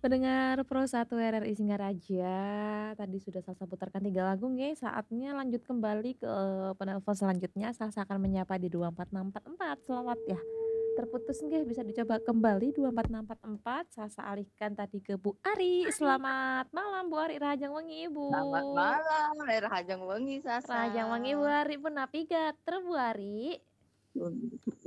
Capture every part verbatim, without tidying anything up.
Pendengar Pro satu R R I Singaraja, tadi sudah Salsa putarkan tiga lagu nggih, saatnya lanjut kembali ke penelpon selanjutnya. Salsa akan menyapa di dua empat enam empat empat. Selamat ya. Terputus nggih, bisa dicoba kembali dua empat enam empat empat. Salsa alihkan tadi ke Bu Ari. Selamat malam Bu Ari, rahajeng wengi Ibu. Selamat malam, eh, rahajeng wengi, Salsa. Rahajeng wengi Bu Ari, punapi gatra Bu Ari?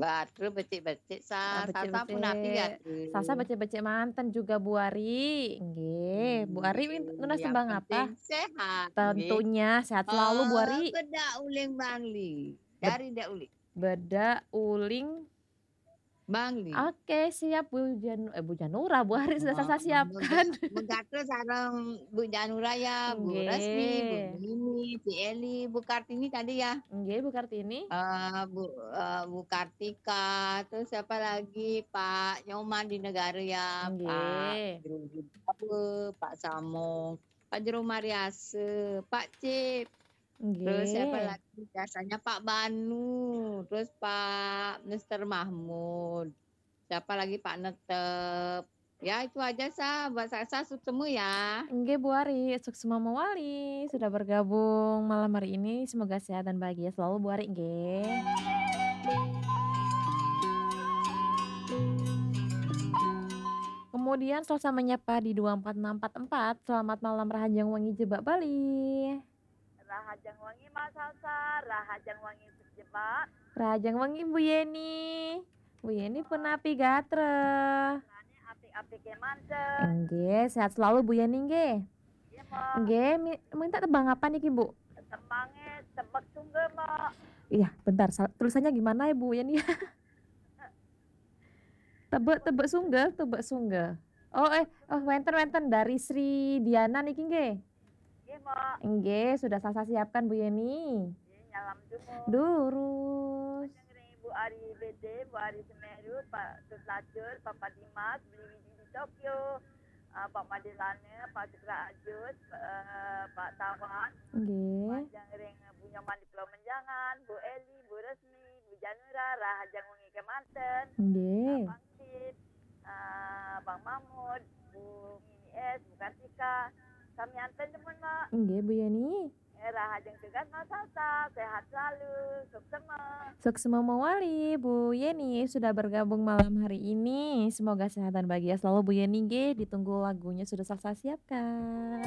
Gatra becik-becik, Sa. Ah, Salsa punapi becik-becik. Gatra? Salsa becik-becik manten juga Bu Ari. Nggih, Bu Ari win-, nunas tembang apa? Yang penting sehat, nggih. Tentunya sehat selalu Bu Ari. Eh, bedak uling Bangli. Bed-, dari Dak Uli. Bedak uling Bangli. Oke, siap Bu Janu-, eh, Bu Janura, Bu Ari sudah Salsa siapkan. Oh, mega-, megatra sareng Bu Janura ya, Bu Resmi, Bu Nini, Bu Eli, Bu Kartini tadi ya. Nggih, Bu Kartini. Eh, Bu, eh, Bu Kartika, terus siapa lagi? Pak Nyoman di Negara ya, Pak Jero Wibawa, Pak Samong, Pak Jero Mariase, Pak Cip. Terus siapa lagi? Biasanya Pak Banu, terus Pak Mister Mahmud. Siapa lagi? Pak Netep. Ya, itu aja, Sa. Buat Salsa, suksma ya. Nggih, Bu Ari, suksma mawali sudah bergabung malam hari ini. Semoga sehat dan bahagia selalu, Bu Ari, nggih. Kemudian Salsa menyapa di dua empat enam empat empat. Selamat malam, rahajeng wengi jebak Bali. Rahajeng wengi, Mas Salsa. Rahajeng wengi jebak. Rahajeng wengi, Bu Yeni. Bu Yeni punapi gatra? Punapi apik-apik kemanten. Nggih, sehat selalu Bu Yeni nggih. Nggih, Mbok. Nggih, mi-, minta tembang apa niki, Bu? Tembangnya Tebek Sungga, Mbok. Iya, bentar, sal-, tulisannya gimana ya, Bu Yeni? Tebek, Tebek Sungga, Tebek Sungga. Oh, eh, oh, wenten, wenten, dari Sri Diana niki nggih. Nggih, Mbok. Nggih, sudah Salsa siapkan, Bu Yeni. Nggih, nyalam jumur. Durus. Majeng ring Ibu Ari B D, Bu Ari Semeru, Pak Tut Lacur, Papa Dimas, Beli Widi di Tokyo, eh, Pak Made Lana, Pak Sugra Ajut, eh, Pak Tawan. Nggih. Majeng ring Bu Nyoman di Pulau Menjangan, Bu Eli, Bu Resmi, Bu Janura, rahajeng wengi kemanten. Nggih. Abang Cip, eh, Bang Mahmud, Bu Mini S, Bu Kartika. Sami anten jemun, Mbok. Nggih, Bu Yeni. Eh, rahajeng tugas, Mas Salsa. Sehat selalu. Suksma. Suksma mawali, Bu Yeni sudah bergabung malam hari ini. Semoga sehat dan bahagia selalu, Bu Yeni, nggih. Ditunggu lagunya sudah Salsa siapkan.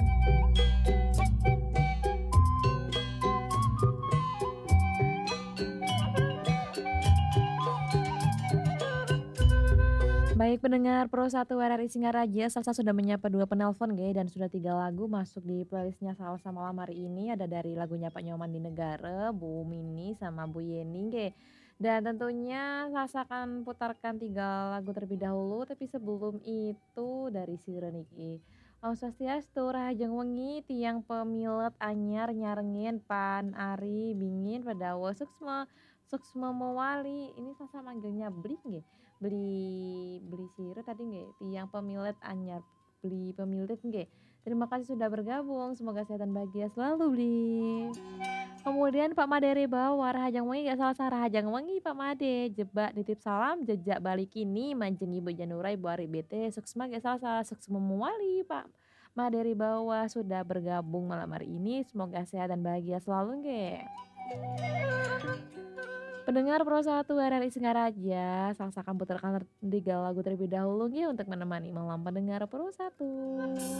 Baik, pendengar Pro satu R R I Singaraja, Salsa sudah menyapa dua penelpon, nggih, dan sudah tiga lagu masuk di playlistnya Salsa malam hari ini. Ada dari lagunya Pak Nyoman di Negara, Bu Mini, sama Bu Yeni, nggih. Dan tentunya Salsa akan putarkan tiga lagu terlebih dahulu, tapi sebelum itu dari sira niki. Om Swastiastu, rahajeng wengi, tiang pamilet anyar nyarengin Pan Ari Bingin Padawa, suksma, suksma mawali. Ini Salsa manggilnya Bli nggih. Beli, beli sira tadi nggih, tiang pamilet anyar, beli pamilet nggih. Terima kasih sudah bergabung, semoga sehat dan bahagia selalu, Bli. Kemudian Pak Made Ribawa, rahajeng wengi, nggih Salsa, rahajeng wengi Pak Made, jebak nitip salam, jejak balik ini, majeng Ibu Janura, Ibu Ari B T, suksma nggih Salsa, suksma mawali Pak Made Ribawa sudah bergabung malam hari ini, semoga sehat dan bahagia selalu nggih. Pendengar Pro satu R R I Singaraja, Salsa akan putarkan tiga lagu terlebih dahulu nggih untuk menemani malam pendengar Pro satu.